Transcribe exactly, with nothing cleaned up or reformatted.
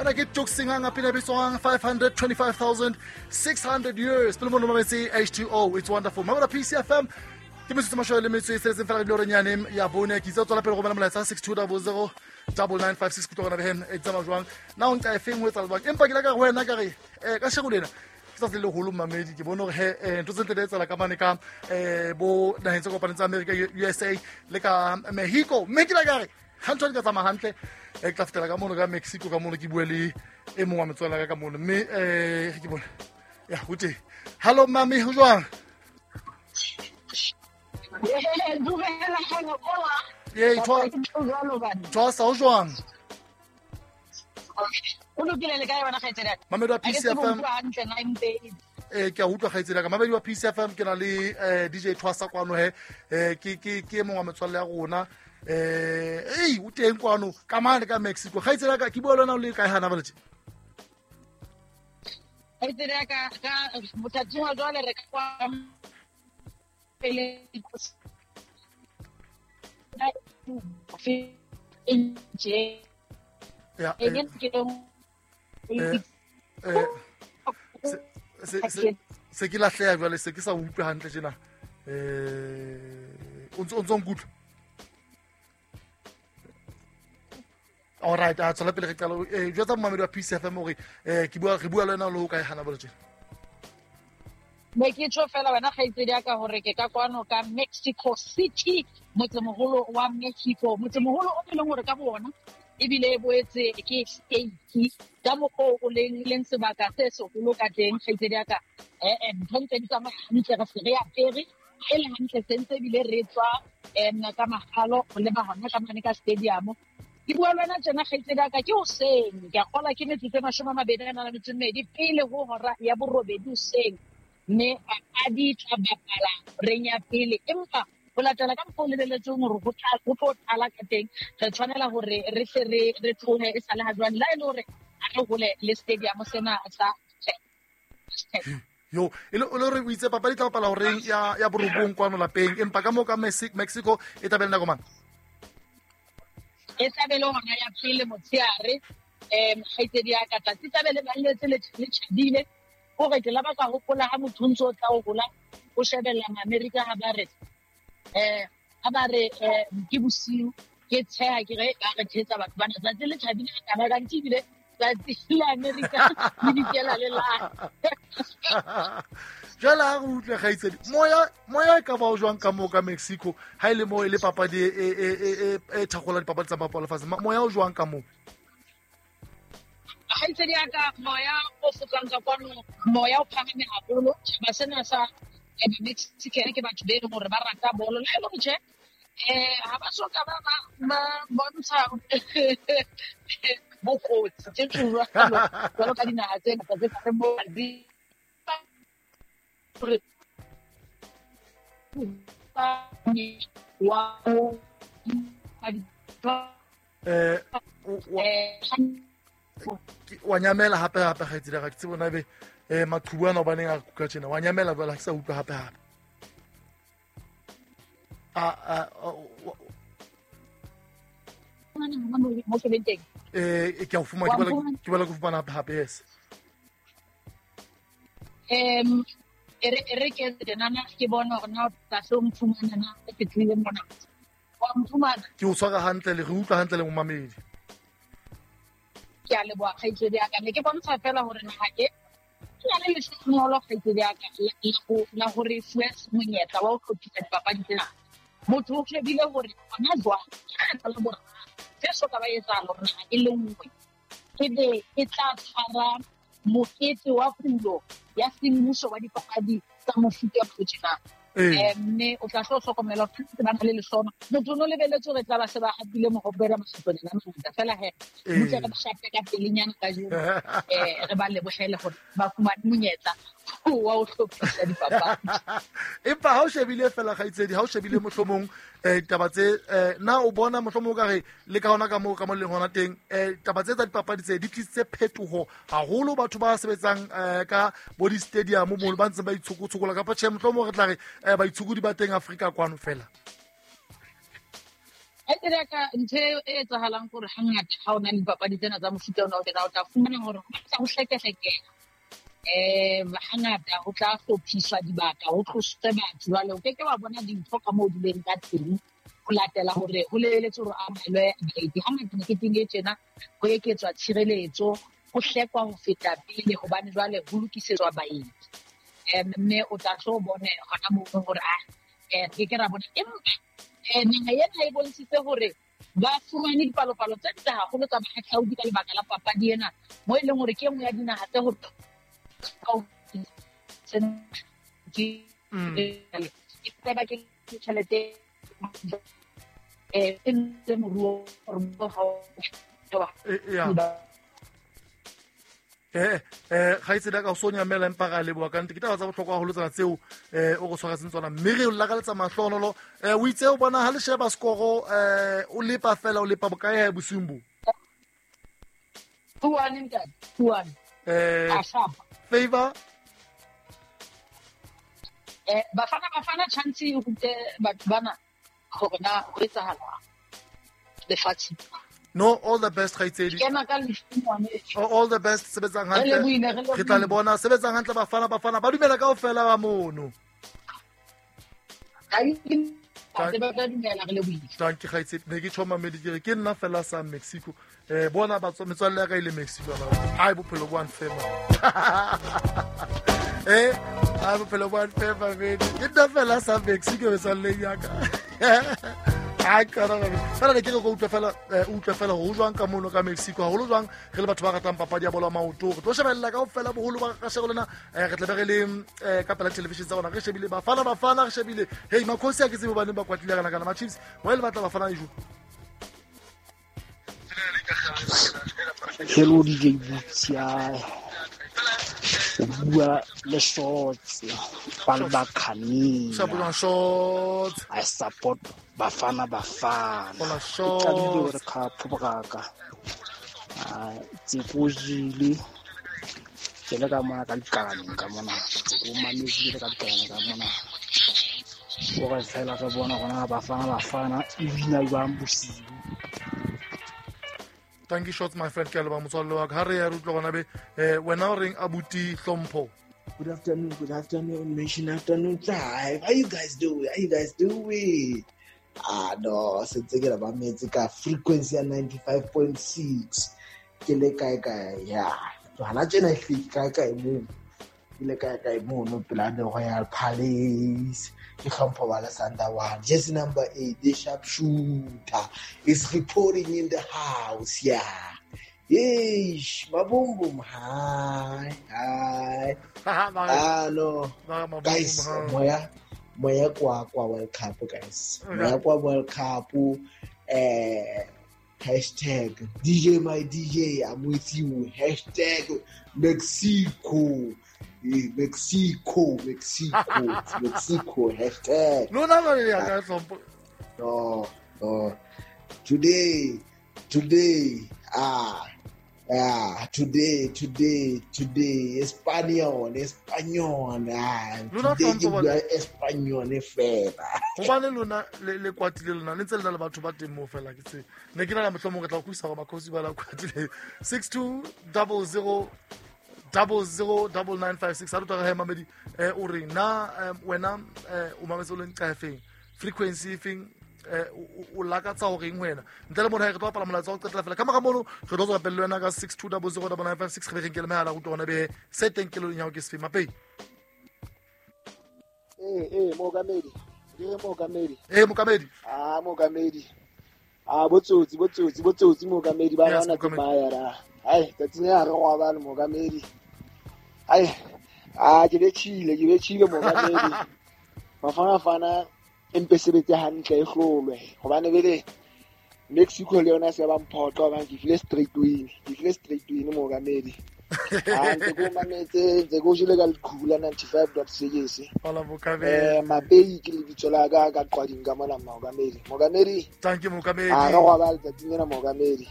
Ena ke Tuxinga pina bitswang five hundred twenty-five thousand six hundred years. Pele mono mametse H two O, it's wonderful. Mamela P C F M. Ke metsotso mashome le metso e tsheletseng fela re nyane ya bone ke itse tswela pele go bona molaetsa six two zero zero nine nine five six kutlwa gona behem e tsamaya jwang na o nka e feng ho etsa jwang empa ke la ka go wena ka re eh ka shego lena ke tsatsi le leholo mamedi ke bone hore he ntho tse ntle di etsahala ka mane ka eh bo naheng tse kopaneng tsa America U S A le ka Mexico mme ke la ka re ha ntho di ka tsamaya hantle e ke tla fetela ka mono ka Mexico ka mono ke bue le e mongwe wa metswalle ya ka ka mono mme eh ke bone ya ho teng. Hello mami, ho jwang? Ye Twasa ho jwang? O lokile le kae wena kgaitsedi ya ka? Mamedi wa P C F M. Eh ke a utlwa kgaitsedi ya ka. Mamedi wa P C F M ke na le D J Twasa kwano he. Eh ke ke ke mongwe wa metswalle ya rona. Eh ei o teng kwano ka mane ka Mexico. Kgaitsedi ya ka ke bua le wena o le kae hana ba letse? Kgaitsedi ya ka ka mothating wa jwale re ka kwa pele ya eh eh se se se ke lahleha jwale se ke sa utlwe hantle tjena eh o ntso o ntso nkutlwa. All right, a tswela pele re qala eh jwetsa momamedi wa P C F M hore eh ke bua re bua le wena le ho kae hana ba tjena. Ne ke tjho fela wena kgaitsedi ya ka hore ke ka kwano ka Mexico City, motsemoholo wa Mexico, motsemoholo o leng hore ka bona ebile e boetse ke state ka mokgwa o leng leng sebaka se seholo ka teng kgaitsedi ya ka. Eh eh ntho ntse di tsamaya hantle re se re apere e le hantle sentse ebile re tswa em ka makgalo ho leba hona ka mane ka stadium. Ke bua le wena tjena kgaitsedi ya ka ke hoseng, ke a kgola ke metsotso e mashome a mabedi a nang le metso e mmedi pele ho hora ya borobedi hoseng. Mme papadi tla bapala reng ya pele empa ho latela ka mokgwa o lebelletsweng hore ho tla ho tlo tlala ka teng re tshwanela hore re hle re re tlohe e sale ha jwale la e le hore ha re hole le stadium sena sa yo e le hore o itse papadi tla bapala horeng ya ya borobong kwano lapeng empa ka moo ka Mexico e tla be le nako mang? E tla be le hona ya pele motsheare em kgaitsedi ya ka tsatsi tla be le balletse le tjhabile hore ke la ba ka hopola ha motho ntso tla o hola o shebella America ha ba re eh ha ba re ke bosiu ke tsheha ke re ba re thetsa batho bana tsatsi le tjhabile ka ba ka ntibile tsatsi la America le dikela le la jwale ha re utlwe kgaitsedi moya moya e ka ba o jwang ka moo ka Mexico ha ile mo e le papadi e e e e thakgola dipapadi tsa mapalo lefatshe moya o jwang ka moo? Kgaitsedi ya ka moya o fokang ka kwano moya o phahame haholo tjhaba sena sa Mexican ke batho be leng hore ba rata bolo le le tjhe eh ha ba soka ba ba bontsha bokotsi tse jwalo jwalo ka dinaha tse ngata tse ka mo di wa eh wa nyamela hape hape kgaitsedi ga ke tsebe bona be eh maqhubu ana hobaneng a kuka tjena wa nyamela jwale ha ke sa utlwa hape hape a a eh ke a o fumana ke bala ke bala go fumana hape hape yes em ere ere ke tsenana ke bona hore na tla so mfumana na ke tlile mona wa mfumana ke o tshwara hantle le re utlwa hantle le momamedi. Ke a leboha kgaitsedi ya ka ne ke bontsha fela hore naha e ke na le lehlohonolo kgaitsedi ya ka la hore fuwe monyetla wa ho hlophisa dipapadi tsena. Motho o shebile hore hona jwale ke kgetho la boraro se so ka ba etsahala hore naha e le nngwe ebe e tla tshwara mokete wa pulo ya semmuso wa dipapadi tsa mofuta o tjena. Mme o tla hlo hlokomela hore ba na le lehlono motho o no lebelletse hore tla ba se ba hapile mohope ra makgetlonyana a mangata fela he motho re ba shape ka pelenyana kajeno eh re ba lebohele hore ba fumane monyetla wa ho hlophisa dipapadi. Empa ha o shebile fela kgaitsedi ha o shebile mohlomong eh ditaba tse na o bona mohlomong ka re le ka hona ka moo ka mo leng hona teng eh taba tse tsa dipapadi tse di tlisitse phetoho haholo batho ba sebetsang ka bo di stadium mo ba ntse ba itshokotshokola kapa tjhe mohlomong re tla re baitshokodi ba teng Afrika kwano fela. Kgaitsedi ya ka, ntho e etsahalang kore hangata ha o na le dipapadi tsena tsa mofuta ona o tjena, o tla fumana hore ho batla ho hlekehlekela. Um hangata ho tla hlophiswa dibaka, ho tloswe batho. Jwale o keke wa bona dintho ka moo di leng ka teng, ho latela hore ho lebeletswe hore amohelwe baeti. Hangata meketeng e tjena ho eketswa tshireletso, ho hlekwa ho feta pele hobane jwale ho lokisetswa baeti. Um mme o tla tlo bone hona moo hore ah eh re ke ra bona. Empa eh naha ena e bontshitse hore ba fumane dipalopalo tse ntle haholo tsa bahahlaudi ka lebaka la papadi ena, mo e leng hore ke e nngwe ya dinaha tse ho ke ke tjhelete eh e ntse moruo eh eh kgaitsedi ka o so nyamela empa ra leboha ka nnete. Ke taba tsa bohlokwa haholo tsena tseo eh o go tshwaretseng tsona, mme re o lakaletsa mahlonolo. Eh o itse o bona ha le sheba skoro eh o lepa fela, o lepa bokae ha bosiung bo? Two one ntate, two one. Eh favor eh Bafana Bafana chance e rute batho bana hore na ho etsahala lefatsheng. No, all the best kgaitsedi. Kena ka lefumane. All the best, sebetsang hantle. Re tla le bona sebetsang hantle Bafana Bafana. Ba dumela kaofela ba mono. Thank you kgaitsedi. Ne ke tjho mamedi ke re ke nna fela sa Mexico. Eh bona ba metswalle ya ka ile Mexico ba. Ai bophelo bo unfair. Eh, ai bophelo bo unfair ba bedi. Ke nna fela sa Mexico metswalle ya ka. Ai kana fela ne ke re go utlwa fela utlwa fela ho jwang ka mono ka Mexico, haholo jwang re le batho ba ratang papadi ya bolo ya maoto. Re tlo shebella kaofela boholo ba ka shego lena, re tla be re le ka pela television tsa rona, re shebile Bafana Bafana, re shebile hey makhosi a ke tsebe baneng ba kwatile kana kana ma Chiefs wa le batla Bafana ejo. Hello D J Butsia, o bua le Shots ba le bakhanni. I support Bafana Bafana. Shots qadile World Cup boraka. Ah tseko jile ke le ka mona ka dikalaneng ka mona. Tseko mametse le ka dikalaneng ka mona. Gore fela re bona gona Bafana Bafana e wina jwang bosiu. Thank you Shots my friend, ke a leboha motswalle wa ka. Ha re ya re utlwa gona be eh wena o reng abuti Hlompho? Good afternoon, good afternoon, Mission Afternoon Drive. How you guys doing? How you guys doing? Ah no, sentse ke la ba metse ka frequency ya ninety-five point six. Ke le kae kae ya. Hana tjena e hleki kae kae mo. Ke le kae kae mo no pela the Royal Palace. Ke Hlompho ba le Sandawana. Jersey number eight, the sharpshooter is reporting in the house. Yeah. Yeesh, maboom, hi, hi. Ah no, guys, moya, moya kwa kwa World Cup, guys. Moya kwa World Cup. Eh, hashtag D J my D J, I'm with you. Hashtag Mexico, Mexico, Mexico, Mexico. Hashtag. No, no, no, no, no. Today, today. Ah, ah, today, today, today, Espanol, Espanol, ah, today ke bua Espanol fela. Hobane lona le le kwatile lona le ntse le na le batho ba teng mo fela ke tse. Ne ke na le mohlomong re tla go isa go makhosi ba la kwatile six two zero zero zero zero nine nine five six. Ha re tla re mamedi eh o re na wena o mametse o leng kae frequency feng o lakatsa hore eng wena ntle le mona re tlo bapala molaetsa wa ho qetela fela ka mora mono re tlo tswa pele le wena ka six two zero zero nine nine five six re be re nkele mehala go utlwa be se teng kelelong ya hao ke sefe mapei. Eh eh mookamedi di re mookamedi eh mookamedi ah mookamedi ah botsotsi botsotsi botsotsi mookamedi ba rana ke baya ra ai tsatsing ya re go ba le mookamedi ai ah ke betjhile ke betjhile mookamedi Bafana Bafana empe sebetse hantle e hlolwe hobane bele Mexico le yona se ba mphoqa hobane ke file straight win ke file straight win mookamedi ah ntse ko mametse ntse ko jile ka leqhula ninety-five point six hola mookamedi eh mabei ke lebitso la ka ka qwading ka mona mookamedi mookamedi thank you mookamedi ah re go ba letsatsing lena mookamedi.